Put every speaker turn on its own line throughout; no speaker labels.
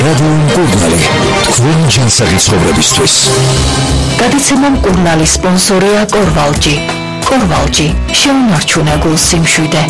რადიო მკურნალი, თქვენი ჯანსაღი ცხოვრებისთვის.
გადაცემა მკურნალი სპონსორია კორვალჯი. კორვალჯი, შეუნარჩუნე გულს სიმშვიდე.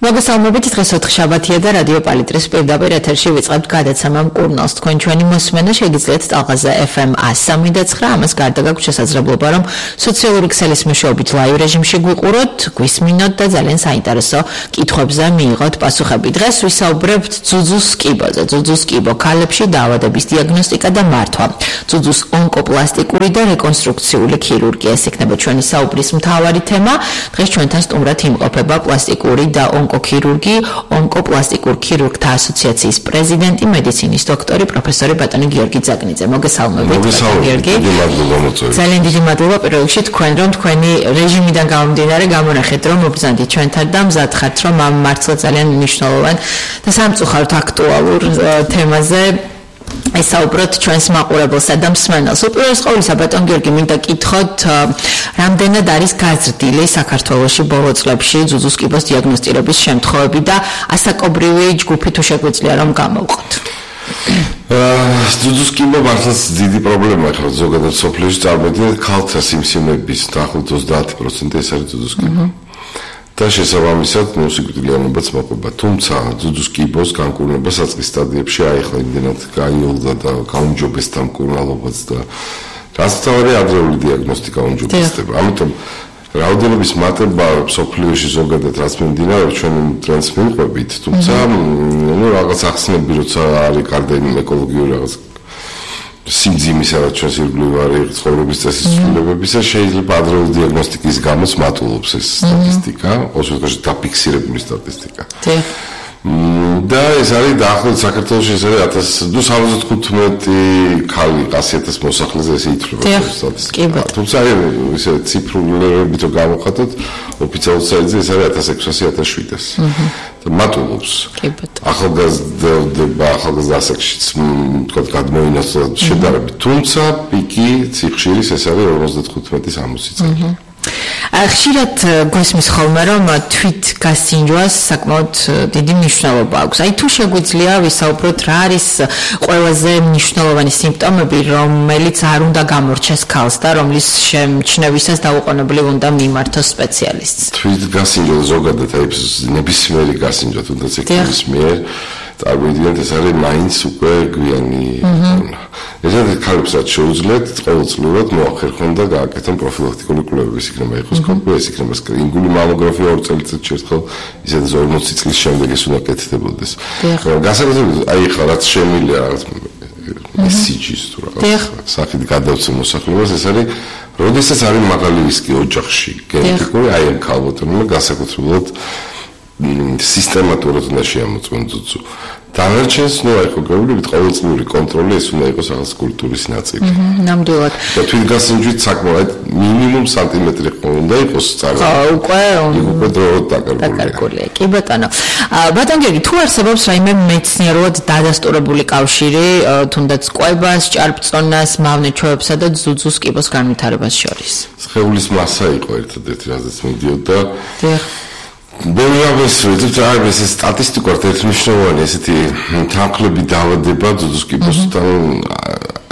მოგესალმებით, დღეს ოთხშაბათია და რადიო პალიტრის პირდაპირ ეთერში ვიწყებთ გადაცემა მკურნალს. თქვენ ჩვენი მოსმენა შეგიძლიათ ტალღაზე FM 103.9, ამას გარდა გაქვთ შესაძლებლობა, რომ სოციალური ქსელის მეშვეობით ლაივ რეჟიმში გვიყუროთ, გვისმინოთ და ძალიან საინტერესო კითხვებზე მიიღოთ პასუხები. დღეს ვისაუბრებთ ძუძუს კიბოზე. ძუძუს კიბო ქალებში დაავადების დიაგნოსტიკა და მართვა. ძუძუს ონკოპლასტიკური და რეკონსტრუქციული ქირურგია. ეს იქნება ჩვენი საუბრის მთავარი თემა. დღეს ჩვენთან სტუმრად იმყოფება პლასტიკური და ონკოქირურგი, ონკოპლასტიკურ ქირურგთა ასოციაციის პრეზიდენტი, მედიცინის დოქტორი, პროფესორი ბატონი გიორგი ძაგნიძე. მოგესალმებით, გიორგი. ძალიან დიდი მადლობა პირველ რიგში თქვენ, რომ თქვენი რეჟიმიდან გამომდინარე გამონახეთ, რომ მობრძანდით ჩვენთან და მზად ხართ, რომ ამ მართლა ძალიან მნიშვნელოვან და სამწუხაროდ აქტუალურ თემაზე ესაუბროთ ჩვენს მაყურებელსა და მსმენელს. უპირველეს ყოვლისა, ბატონ გიორგი, მინდა კითხოთ, რამდენად არის გაზრდილი საქართველოში ბოლო წლებში ძუძუს კიბოს დიაგნოსტირების შემთხვევები და ასაკობრივი ჯგუფი თუ შეგვიძლია რომ გამოვყოთ?
ძუძუს კიბო მართლაც დიდი პრობლემაა, ხო, ზოგადად სოფლიოში წარმოიდგინეთ ქალთა სიმსივნეების დაახლოებით 30% ეს არის ძუძუს კიბო. და შესაბამისად სიკვდილიანობაც მოყვება. თუმცა ძუძუს კიბოს განკურნება საწყის სტადიებში აიხლა იმდენად გაიოლდა და გაუმჯობესდა მკურნალობაც და რაც თავი ადრეული დიაგნოსტიკა უმჯობესდება. ამიტომ რაოდენობის მატება სოფლიოში ზოგადად რაც მიმდინარეობს ჩვენ ტრენდს მივყვებით, თუმცა რაღაც ახსნები როცა არის გარდა ეკოლოგიური რაღაც სიმძიმისა და ჩვენს ირგვლივ არის ცხოვრების წესის ცვლილებებისა, შეიძლება ადრეული დიაგნოსტიკის გამოც მატულობს ეს სტატისტიკა, ოსურთაში დაფიქსირებული სტატისტიკა. და ეს არის დაახლოებით საქართველოში ეს არის 1075 ქალი 100,000 მოსახლეზე ესე ითვლება სტატისტიკა. თუმცა ისე ციფრულებით რო გავხატოთ, ოფიციალურ საიტზე ეს არის 1600-1700. და მატულობს. ახალგაზრდა ასაკშიც თქო გადმოინაცვლა შედარებით. თუმცა პიკი ციხშირის ეს არის 55-60 წელი.
ხშირად გვესმის ხოლმე, რომ თვით გასინჯვას საკმაოდ დიდი მნიშვნელობა აქვს. აი თუ შეგვიძლია ვისაუბროთ, რა არის ყველაზე მნიშვნელოვანი სიმპტომები, რომელიც არ უნდა გამორჩეს ქალს და რომლის შემჩნევისას დაუყოვნებლივ უნდა მიმართოს სპეციალისტს.
თვით გასინჯვა ზოგადად აი ნებისმიერი გასინჯვა თუნდაც ექიმის მიერ წარმოიდგინეთ ეს არის მაინც უკვე გვიანი. ესეთი ქალებს რაც შეუძლიათ ყოველწლიურად მოახერხონ და გააკეთონ პროფილაქტიკური კვლევების, იქნება ეხოსკოპია, ეს იქნება სკრინინგული მამოგრაფია 2 წელიწადში ერთხელ, ისედაც 40 წლის შემდეგ ეს უნდა კეთდებოდეს. გასაკეთებლად აი ხა რაც შემილია რაღაც SCG-ს თუ რაღაც სახით გადავცემ მოსახლეობას, ეს არის როდესაც არის მაღალი რისკი ოჯახში გენეტიკური, აი ამ ქალბატონებმა გასაკუთრებულად სისტემატურად უნდა შეამოწმონ ძუძუ. დანარჩენს აი ხო გაუგებრებით ყოველწლიური კონტროლი ეს უნდა იყოს რაღაც კულტურის ნაწილი.
ნამდვილად.
და თვითგასინჯვით საკმაოდ მინიმუმ სანტიმეტრი უნდა იყოს წავა.
უკვე დაკარგულია. კი ბატონო. ბატონ გიორგი, თუ არსებობს რაიმე მეცნიერულად დადასტურებული კავშირი თუნდაც კვებას, ჭარბწონას, მავნეჩვევებსა და ძუძუს კიბოს განვითარებას შორის?
სხეულის მასა იყო ერთადერთი რაზეც მიდიოდა. ბოლოს ეს სტატისტიკურად ერთმნიშვნელოვანი ესეთი თანხლები დაავადება ძუძუს კიბოსთან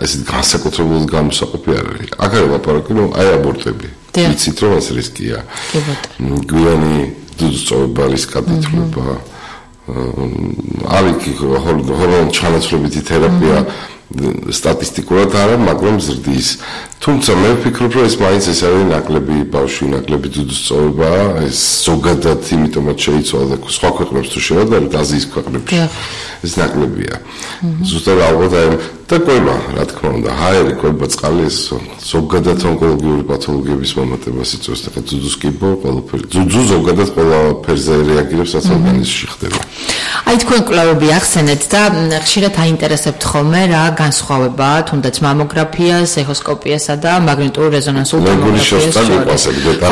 ესეთი განსაკუთრებულად გამოსაყოფი არ არის. აქ არის ლაპარაკი, რომ აი აბორტები. იცით რომ ეს რისკია. გვიანი ძუძუს წოვების გადათვლება. არის ჰორმონ ჩანაცვლებითი თერაპია სტატისტიკურად არა, მაგრამ ზრდის. თუმცა მე ვფიქრობ, რომ ეს მაინც ეს არის ნაკლები ბავშვი, ნაკლები ძუძუს წოვება, ეს ზოგადად იმიტომაც შეიცვალა და სხვა ქვეყნებს თუ შევადარებთ აზიის ქვეყნებში. ეს ნაკლებია. ზუსტად ალბათ აი და კვება, რა თქმა უნდა, ჰაერი, კვება, წყალი ეს ზოგადად ონკოლოგიური პათოლოგიების მომატებას იწვევს და ძუძუს კიბო ყველაფერი. ძუძუ ზოგადად ყველაფერზე რეაგირებს, რაც ორგანიზმში ხდება.
აი თქვენ კვლევები ახსენეთ და ხშირად აინტერესებთ ხოლმე რა განსხვავებაა თუნდაც მამოგრაფიას, ეხოსკოპიასა და მაგნიტურ რეზონანსულ ტომოგრაფიას შორის.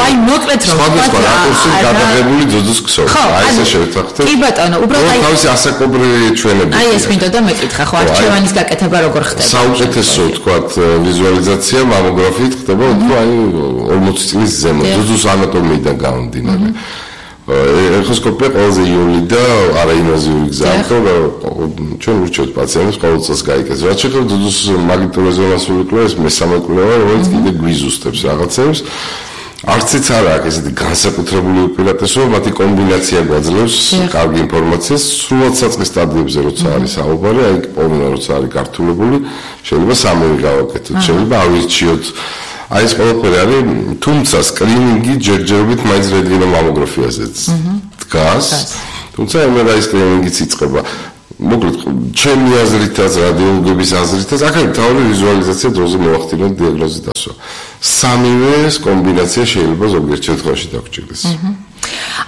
აი მოკლედ რომ
სხვადასხვა რაკურსით გადაღებული ძუძუს ქსოვს. აი ესე შევთანხმდეთ.
კი ბატონო, უბრალოდ აი
თავისი ასაკობრივი ჩვენები.
აი ეს მინდოდა მეკითხა, ხო არჩევანის გაკეთება როგორ ხდება?
საუკეთესო თქვათ ვიზუალიზაცია მამოგრაფიით ხდება უფრო აი 40 წლის ზემოთ ძუძუს ანატომიიდან გამომდინარე. ეხოსკოპია ყველაზე იული და არაინვაზიური გზაა, ჩვენ ურჩევთ პაციენტებს ყოველ წელს გაიგეს. რაც შეეხება ძუძუს მაგნიტურეზონანსული კვლევას, მესამე კვლევა, რომელიც კიდე გვიზუსტებს რაღაცებს. არციც არ აქვს ესეთი განსაკუთრებული უპირატესობა, მათი კომბინაცია გვაძლევს კარგი ინფორმაციას, სრულად საწყის სტადიებზე როცა არის საუბარი, აი პოვნა როცა არის გართულებული, შეიძლება სამივე გავაკეთოთ, შეიძლება ავირჩიოთ. აი ეს ყველაფერი არის, თუმცა სკრინინგი ჯერჯერობით მაინც რენტგენო მამოგრაფიაზეც დგას, თუმცა MRI სკრინინგიც იწყება. მოკლედ, ჩემი აზრითაც, რადიოლოგების აზრითაც, აქ არის თავი ვიზუალიზაცია დროზე მოახდინოთ დიაგნოზის დასვა. სამივე კომბინაცია შეიძლება ზოგიერთ შემთხვევაში დაგჭირდეს.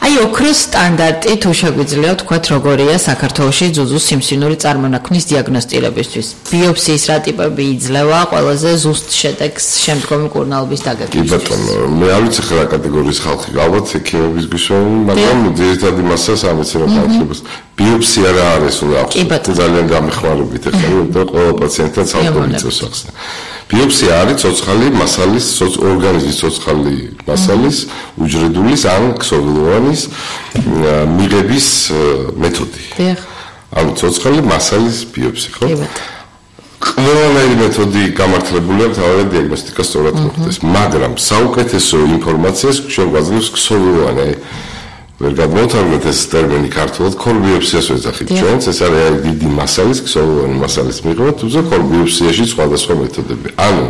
აი ოქროს სტანდარტი თუ შეგვიძლია ვთქვათ როგორია საქართველოში ძუძუს სიმსივნური წარმონაქმნის დიაგნოსტირებისთვის. ბიოპსიის რა ტიპები იძლევა ყველაზე ზუსტ შედეგს შემდგომი კურნალობის დაგეგმვის.
კი ბატონო, მე არ ვიცი რა კატეგორიის ხალხი, ალბათ ექიმების გვისვენ, მაგრამ ძირითადი მასას ამეცნობა ხალხებს. ბიოპსია რა არის, ახლა ძალიან გამეხმარებით ახლა, იმიტომ ყველა პაციენტთან ცალკე მიწევს ახსნა. ბიოპსია არის ცოცხალი მასალის, ორგანიზმის ცოცხალი მასალის, უჯრედულის ან ქსოვილოვანის მიღების მეთოდი. ანუ ცოცხალი მასალის ბიოპსია, ხო? ყველანაირი მეთოდი გამართლებული აქვს თავად დიაგნოსტიკას სწორად მოხდეს, მაგრამ საუკეთესო ინფორმაციას ჩვენ გვაძლევს ქსოვილოვანი. ვერ გადმოვთარგმნეთ ეს ტერმინი ქართულად, ქორბიოპსიას ვეძახით ჩვენც, ეს არის დიდი მასალის, ქსოვილოვანი მასალის მიღება, თუმცა ქორბიოპსიაში სხვადასხვა მეთოდები. ანუ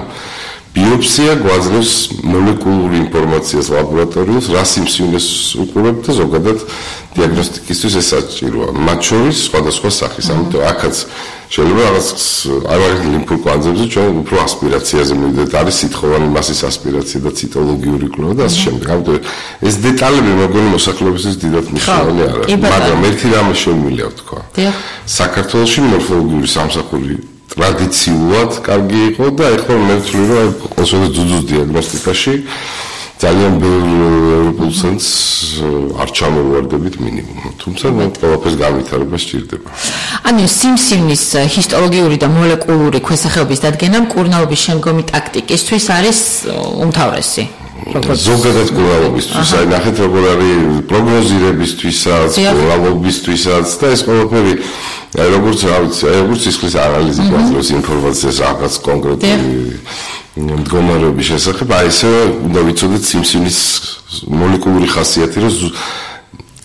ბიოპსია გვაძლევს მოლეკულური ინფორმაციას ლაბორატორიულს, რა სიმსივნეს უყურებთ და ზოგადად დიაგნოსტიკისთვის ეს საჭიროა. მათ შორის სხვადასხვა სახის, ამიტომ აქაც შეიძლება რაღაც აი ლიმფურ კვანძებზე ჩვენ უფრო ასპირაციაზე მივიდეთ, არის სითხოვანი მასის ასპირაცია და ციტოლოგიური კვლევა და ასე შემდეგ. ამიტომ ეს დეტალები მოგონი მოსახლეობისთვის დიდად მნიშვნელოვანი არ არის, მაგრამ ერთი რამე შემიძლია ვთქვა. საქართველოში მორფოლოგიური სამსახური ტრადიციულად კარგი იყო და ეხლა მე ვთვლი რომ ყოველთვის ძუძუს დიაგნოსტიკაში ძალიან ბევრ ცენტრს არ ჩამოვარდებით მინიმუმ. თუმცა ყველაფერს განვითარება სჭირდება.
ანუ სიმსივნის ჰისტოლოგიური და მოლეკულური ქვესახეობის დადგენა კურნალობის შემდგომი ტაქტიკისთვის არის უმთავრესი.
ზოგადად კურნალობისთვის, აი ნახეთ როგორ არის პროგნოზირებისთვისაც, კურნალობისთვისაც და ეს ყველაფერი აი როგორც რა ვიცი, აი როგორც სისხლის ანალიზი გვაძლევს ინფორმაციას რაღაც კონკრეტული მდგომარეობის შესახებ, აი ესე უნდა ვიცოდეთ სიმსივნის მოლეკულური ხასიათი, რომ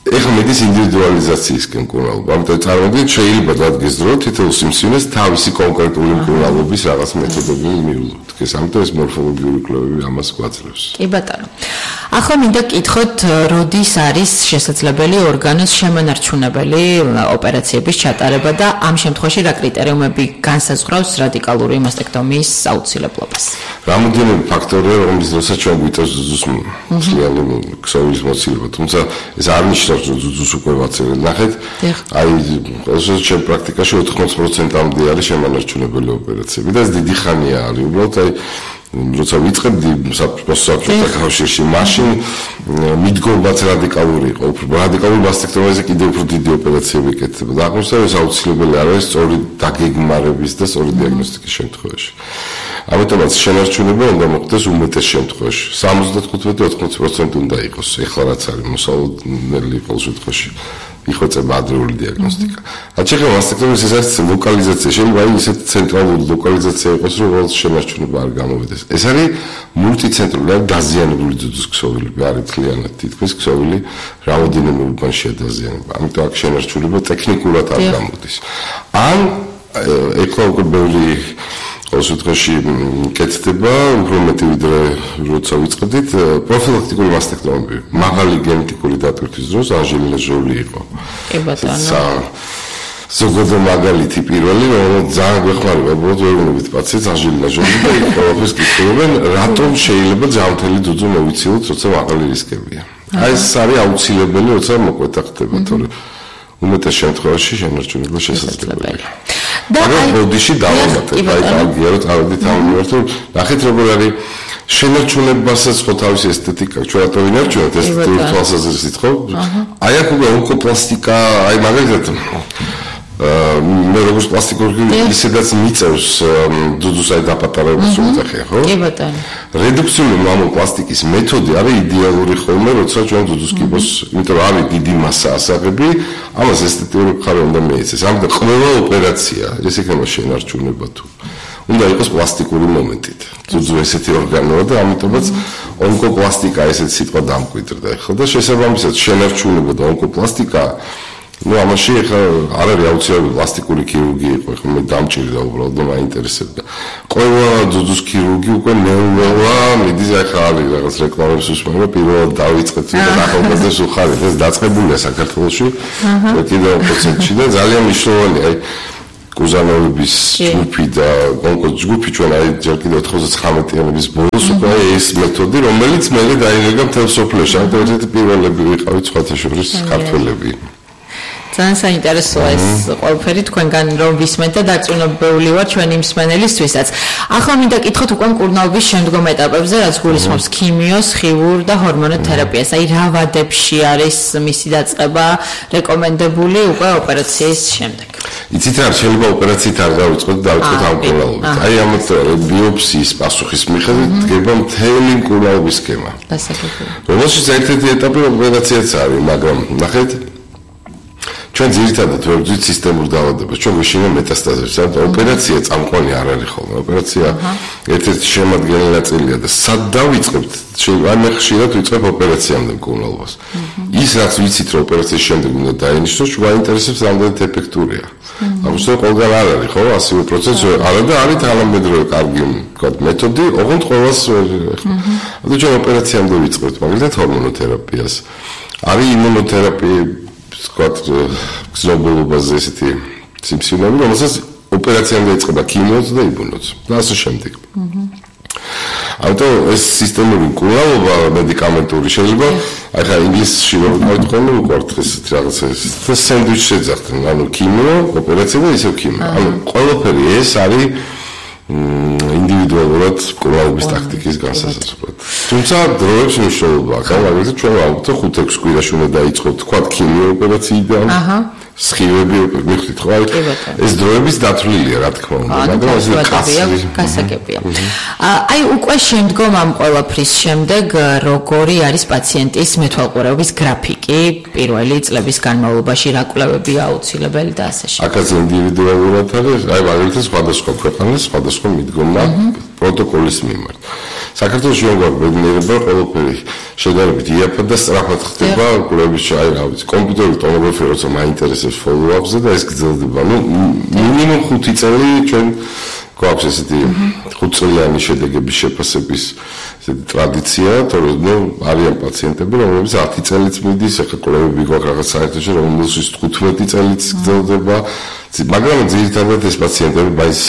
ეხლა მედის ინდივიდუალიზაციისკენ კურნალობა. ამიტომ წარმოგიდგენთ, შეიძლება დადგეს დრო თითოეულ სიმსივნეს თავისი კონკრეტული კურნალობის რაღაც მეთოდები მიულოდეთ. ამიტომ ეს მორფოლოგიური კვლევები ამას გვაძლევს.
კი ბატონო. ახლა მინდა გკითხოთ, როდის არის შესაძლებელი ორგანოს შემონარჩუნებელი ოპერაციების ჩატარება და ამ შემთხვევაში რა კრიტერიუმები განსაზღვრავს რადიკალური მასტექტომიის აუცილებლობას?
რამოდენიმე ფაქტორია, რომლის დროსაც ჩვენ გვიწევს ძუძუს მთლიანი ქსოვილის მოცილება, თუმცა ეს არ ნიშნავს, რომ ძუძუს უკვე ვაცერეთ. ნახეთ, აი ყოველთვის ჩემ პრაქტიკაში 80%-მდე არის შემონარჩუნებელი ოპერაციები და ეს დიდი ხანია არის. უბრალოდ აი როცა ვიწყებდი საბჭოთა კავშირში, მაშინ მიდგომაც რადიკალური იყო. რადიკალური მასტექტომიაზე კიდევ უფრო დიდი ოპერაციები ეკეთება და აღმოსავლეთ ეს აუცილებელი არ არის სწორი დაგეგმარების და სწორი დიაგნოსტიკის შემთხვევაში. ამიტომაც შენარჩუნება უნდა მოხდეს უმეტეს შემთხვევაში. 75-80% უნდა იყოს. ეხლა რაც არის მოსალოდნელი ყოველ შემთხვევაში იხვეწება ადრეული დიაგნოსტიკა. რაც შეეხება მასტექტომიას, ეს არის ლოკალიზაცია. შეიძლება აი ისეთი ცენტრალური ლოკალიზაცია იყოს, რომ ყოველ შენარჩუნება არ გამოვიდეს. ეს არის მულტიცენტრული, არის დაზიანებული ძუძუს ქსოვილი, არის თლიანად თითქმის ქსოვილი რამოდენიმე ურბანშია დაზიანება. ამიტომ აქ შენარჩუნება ტექნიკურად არ გამოდის. ან ეხლა უკვე ბევრი ყოველ შემთხვევაში კეთდება, უფრო მეტი ვიდრე როცა ვიწყდით, პროფილაქტიკური მასტექტომები. მაღალი გენეტიკური დატვირთვის დროს ანჟელინა ჟოლი იყო.
კი ბატონო.
ზოგადად მაგალითი პირველი, რომელიც ძალიან გვეხმარება, უბრალოდ ვერ უნებით პაციენტს ანჟელინა ჟოლი და ყველაფერს კითხულობენ, რატომ შეიძლება ჯანმრთელი ძუძუ მოვიცილოთ, როცა მაღალი რისკებია. აი ეს არის აუცილებელი, როცა მოკვეთა ხდება, თორე უმეტეს შემთხვევაში შენარჩუნება შესაძლებელია. მაგრამ ბოდიში დავამატებ, აი კარგია რომ წავედით ამ მიმართულ, ნახეთ როგორ არის შენარჩუნებასაც ხო თავისი ესთეტიკა, ჩვენ რატო ვინარჩუნებთ ესთეტიკური თვალსაზრისით, ხო? აი აქ უკვე ონკოპლასტიკა, აი მაგალითად მე როგორც პლასტიკური ისედაც მიწევს ძუძუსაი დაპატარების უძახია, ხო?
კი ბატონო.
რედუქციული მამულ პლასტიკის მეთოდი არის idеალური ხოლმე, როცა ჩვენ ძუძუს კიბოს, იმიტომ რომ არის დიდი მასა ასაღები, ამას ესთეტიური მხარე უნდა მიეცეს. ამიტომ ყველა ოპერაცია, ეს იქნება შენარჩუნება თუ უნდა იყოს პლასტიკური მომენტით. ძუძუ ესეთი ორგანოა და ამიტომაც ონკოპლასტიკა ესეთი სიტყვა დამკვიდრდა. ხო და შესაბამისად შენარჩუნება და ონკოპლასტიკა ამაში ახლა არ არის აუცილებელი პლასტიკური ქირურგია იყო, ხო მე დამჭირდა უბრალოდ და მაინტერესებდა. ყველა ძუძუს ქირურგი უკვე ნეუროლა, მიდის ახლა არის რაღაც რეკლამებს უსმენია, პირველად დავიწყეთ და ახალგაზრდებს უხარით, ეს დაწყებულია საქართველოში. კიდევ პროცენტში და ძალიან მნიშვნელოვანია, აი კუზანოვების ჯგუფი და კონკრეტ ჯგუფი ჩვენ აი ჯერ კიდევ 99-იანების ბოლოს უკვე ეს მეთოდი, რომელიც მე დაინერგა მთელ სოფლიოში, ამიტომ ერთ-ერთი პირველები ვიყავით სხვათა შორის ქართველები.
ძალიან საინტერესოა ეს ყველაფერი თქვენგან რომ ვისმენთ და დარწმუნებული ვარ ჩვენი მსმენელისთვისაც. ახლა მინდა კითხოთ უკვე მკურნალობის შემდგომ ეტაპებზე, რაც გულისხმობს ქიმიოს, ხილურ და ჰორმონოთერაპიას. აი რა ვადებში არის მისი დაწყება რეკომენდებული უკვე ოპერაციის შემდეგ?
იცით რა, შეიძლება ოპერაციით არ დავიწყოთ, დავიწყოთ ამ მკურნალობით. აი ამიტომ ბიოპსიის პასუხის მიხედვით დგება მთელი მკურნალობის სქემა.
დასაკვირველი.
რომელშიც ერთ-ერთი ეტაპი ოპერაციაც არის, მაგრამ ნახეთ ჩვენ ძირითადად ვეძვით სისტემურ დაავადებას, ჩვენ გვეშინა მეტასტაზებს, ანუ ოპერაცია წამყვანი არ არის ხოლმე. ოპერაცია ერთ-ერთი შემადგენელი ნაწილია და სად დავიწყებთ? აი მე ხშირად ვიწყებ ოპერაციამდე მკურნალობას. ის რაც ვიცით რომ ოპერაციის შემდეგ უნდა დაინიშნოს, გვაინტერესებს რამდენად ეფექტურია. ამიტომ ყველგან არ არის ხო, ასივე პროცესი არა და არის თანამედროვე კარგი მეთოდი, ოღონდ ყველას ანუ ჩვენ ოპერაციამდე ვიწყებთ, მაგალითად ჰორმონოთერაპიას. არის იმუნოთერაპია სკოტ გზნობულობაზე ესეთი სიმსივნეები, რომელსაც ოპერაციამდე იწყება ქიმიოც და იმუნოც და ასე შემდეგ. ამიტომ ეს სისტემური მკურნალობა მედიკამენტური შეიძლება, ახლა ინგლისში რომ მოიწყოთ უყვართ ესეთი რაღაცა და სენდვიჩს ეძახდნენ, ანუ ქიმიო, ოპერაცია და ისევ ქიმიო. ანუ ყველაფერი ეს არის ინდივიდუალურად მკურნალობის ტაქტიკის განსაზღვრად. თუმცა დროებს მნიშვნელობა აქვს, მაგალითად ჩვენ ვამბობთ 5-6 კვირაში უნდა დაიწყოთ თქვა ქიმიო ოპერაციიდან. სხივები მიხდით ხო? ეს დროების დათვლილია, რა თქმა უნდა, მაგრამ ეს
გასაგებია. აი უკვე შემდგომ ამ ყველაფრის შემდეგ როგორი არის პაციენტის მეთვალყურეობის გრაფიკი პირველი წლების განმავლობაში, რა კვლევებია აუცილებელი და ასე შემდეგ.
აქაც ინდივიდუალურად არის, აი მაგალითად სხვადასხვა ქვეყანას სხვადასხვა მიდგომა პროტოკოლის მიმართ. საქართველოში როგორ ბედნიერება ყველაფერი შედარებით იაფად და სწრაფად ხდება კვლევის აი რა ვიცი კომპიუტერული ტომოგრაფია როცა მაინტერესებს follow-up-ზე და ეს გრძელდება. ნუ მინიმუმ 5 წელი ჩვენ გვაქვს ესეთი 5 წლიანი შედეგების შეფასების ესეთი ტრადიცია, თორემ ნუ არიან პაციენტები, რომლებიც 10 წელიც მიდის, ახლა კვლევები გვაქვს რაღაც საერთაშორისო, რომელშიც 15 წელიც გრძელდება, მაგრამ ძირითადად ეს პაციენტები მაინც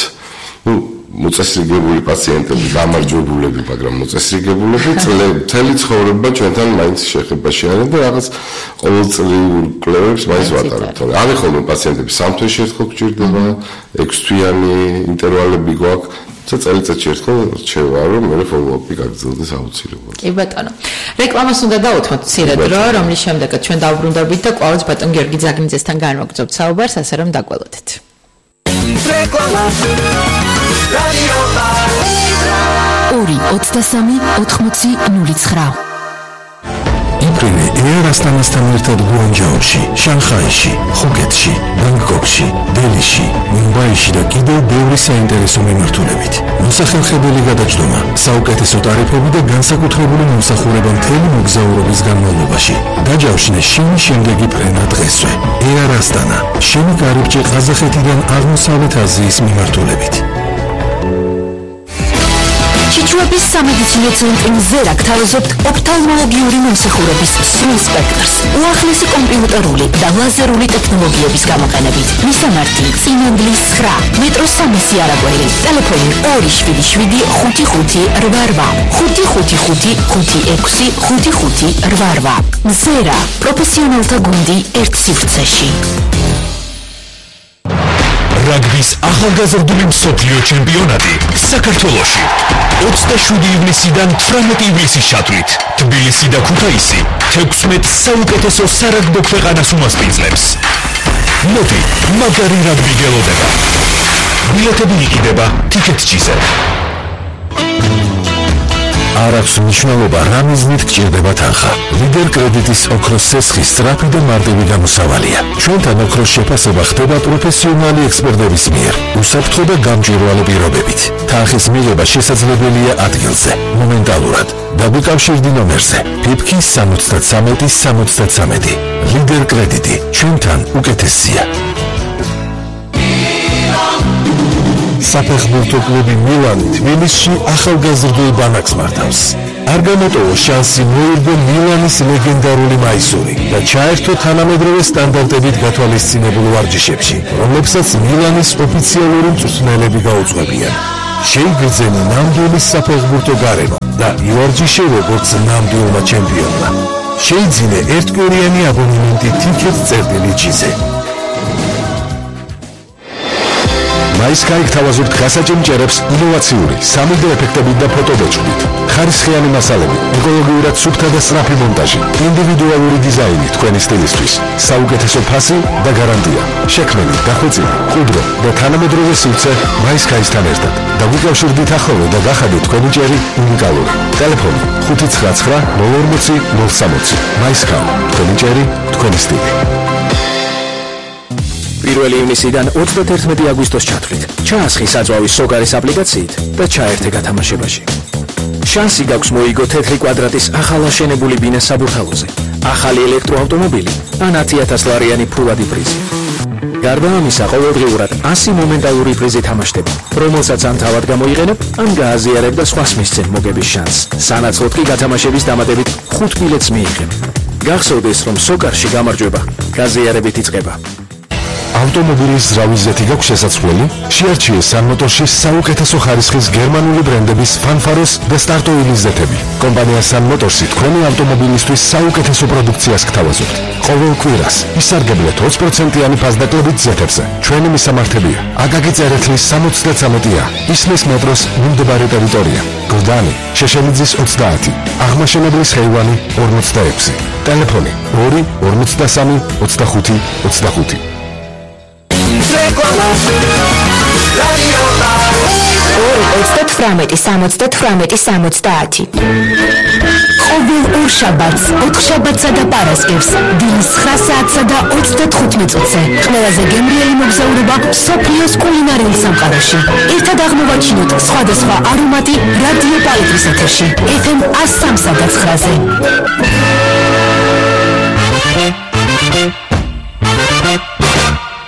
ნუ მოწესრიგებული პაციენტები, გამარჯვებულები, მაგრამ მოწესრიგებულები მთელი ცხოვრება ჩვენთან მაინც შეხებაში არიან და რაღაც ყოველწლიურ კვლევებს მაინც ვატარებთ. არის ხოლმე პაციენტები 3 თვეში ერთხელ გვჭირდება, 6 თვიანი ინტერვალები გვაქვს, და წელიწადში ერთხელ რჩება, რომ მე follow-up-ი გაგრძელდეს აუცილებლად.
კი ბატონო. რეკლამას უნდა დავუთმოთ მცირე დრო, რომლის შემდეგაც ჩვენ დავბრუნდებით და კვლავაც ბატონ გიორგი ძაგნიძესთან განვაგრძობთ საუბარს, ასე რომ დაგველოდეთ. რეკლამა
2-23-80-09.
იფრინე Air Astana-სთან ერთად გუანჯაოში, შანხაიში, ხუკეთში, ბანგკოკში, დელიში, მუმბაიში და კიდევ ბევრი საინტერესო მიმართულებით. მოსახერხებელი გადაჯდომა, საუკეთესო ტარიფები და განსაკუთრებული მომსახურება მთელი მოგზაურობის განმავლობაში. დაჯავშნე შენი შემდეგი ფრენა დღესვე. Air Astana, შენი კარიბჭე ყაზახეთიდან აღმოსავლეთ აზიის მიმართულებით.
ჩიჩუების სამედიცინო ცენტრი მზერა გთავაზობთ ოფთალმოლოგიური მომსახურების სრულ სპექტრს, უახლესი კომპიუტერული და ლაზერული ტექნოლოგიების გამოყენებით. მისამართი: წინანდლის 9, მეტროს 300 არაგველი, ტელეფონი 275-555-555-56-55-88. მზერა, პროფესიონალთა გუნდი ერთ სივრცეში.
რაგბის ახალგაზრდული მსოფლიო ჩემპიონატი საქართველოში 27 ივნისიდან 18 ივლისის ჩათვლით თბილისი და ქუთაისი 16 საუკეთესო სარაგბო ქვეყანას უმასპინძლებს. მოდი, მაგარი რაგბი გელოდება. ბილეთები იყიდება Ticket.gz-ზე. არ აქვს მნიშვნელობა რა მიზნით გჭირდება თანხა. ლიდერ კრედიტის ოქროს სესხის სწრაფი და მარტივი გამოსავალია. ჩვენთან ოქროს შეფასება ხდება პროფესიონალი ექსპერტების მიერ, უსაფრთხო და გამჭვირვალე პირობებით. თანხის მიღება შესაძლებელია ადგილზე, მომენტალურად. დაგვიკავშირდი ნომერზე PIPK 73 ლიდერ კრედიტი, ჩვენთან უკეთესია. საფეხბურთო კლუბი მილანი თბილისში ახალგაზრდულ ბანაკს მართავს. არ გამოტოვო შანსი მოირგო მილანის ლეგენდარული მაისური და ჩაერთო თანამედროვე სტანდარტებით გათვალისწინებულ ვარჯიშებში, რომლებსაც მილანის ოფიციალური მწვრთნელები გაუძღვებიან. შეიგრძენო ნამდვილი საფეხბურთო გარემო და ივარჯიშე როგორც ნამდვილმა ჩემპიონმა. შეიძინე ერთკვირიანი აბონემენტი Ticket.gz-ზე. MySky გთავაზობთ გასაჭიმჭერებს ინოვაციური 3D ეფექტებით და ფოტობეჭდით. ხარისხიანი მასალები, ეკოლოგიურად სუფთა და სწრაფი მონტაჟი, ინდივიდუალური დიზაინი თქვენი სტილისთვის, საუკეთესო ფასი და გარანტია. შექმნილი, დახვეწილი, მყუდრო და თანამედროვე სივრცე MySky-სთან ერთად. დაგვიკავშირდით ახალ და გახადეთ თქვენი ჭერი უნიკალური. ტელეფონი 599 040 060. MySky, თქვენი ჭერი, თქვენი სტილი.
1 ივნისიდან 31 აგვისტოს ჩათვლით. ჩაასხი საძვალვის სოგარის აპლიკაციით და ჩაერთე გათამაშებაში. შანსი გაქვს მოიგო თეთრი კვადრატის ახალაშენებული ბინა საბურთალოზე, ახალი ელექტროავტომობილი ან 10,000 ლარიანი ფულადი პრიზი. გარდა ამისა, ყოველდღიურად 100 მომენტალური პრიზი თამაშდება, რომელსაც ან თავად გამოიყენებ, ან გააზიარებ და სხვას მისცემ მოგების შანსს. სანაცვლოდ კი გათამაშების დამატებით 5 ბილეთს მიიღებ. გახსოვდეს, რომ სოკარში გამარჯვება გაზიარებით იწყება.
ავტომობილის ზრავის ზეთი გაქვს შესაძლებელი? შეარჩიე სანმოტორში საუკეთესო ხარისხის გერმანული ბრენდების ფანფაროს და სტარტოილის ზეთები. კომპანია სანმოტორსი თქვენი ავტომობილისთვის საუკეთესო პროდუქციას გთავაზობთ. ყოველ კვირას ისარგებლეთ 20%-იანი ფასდაკლებით ზეთებზე. ჩვენი მისამართებია: აკაკი წერეთლის 73-ა, ისმის მეტროს მიმდებარე ტერიტორია, გლდანი, შეშელიძის 30, აღმაშენებლის ხეივანი 46. ტელეფონი 2 53 25 25.
2-38-70-70. ყოველ ორ შაბათს, 4 შაბათსა და პარასკევს, დილის 9 საათსა და 35 მინუტზე. ყველაზე გემრიელი მოგზაურობა მსოფლიოს კულინარიულ სამყაროში. ერთად აღმოვაჩინოთ სხვადასხვა არომატი რადიო პალიტრის ეთერში. FM 103.9-ზე.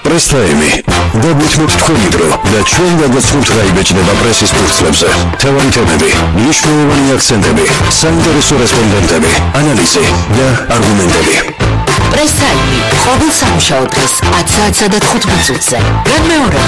პრესტაიმი გაგვითმოთ თქვენი დრო და ჩვენ გადასცემთ რა იბეჭდება პრესის ფურცლებზე. თევარი თემები, მნიშვნელოვანი აქცენტები, საინტერესო რესპონდენტები, ანალიზი და არგუმენტები.
პრესტაიმი ყოველ სამუშაო დღეს 10 საათსა და 15 მინუტზე. განმეორება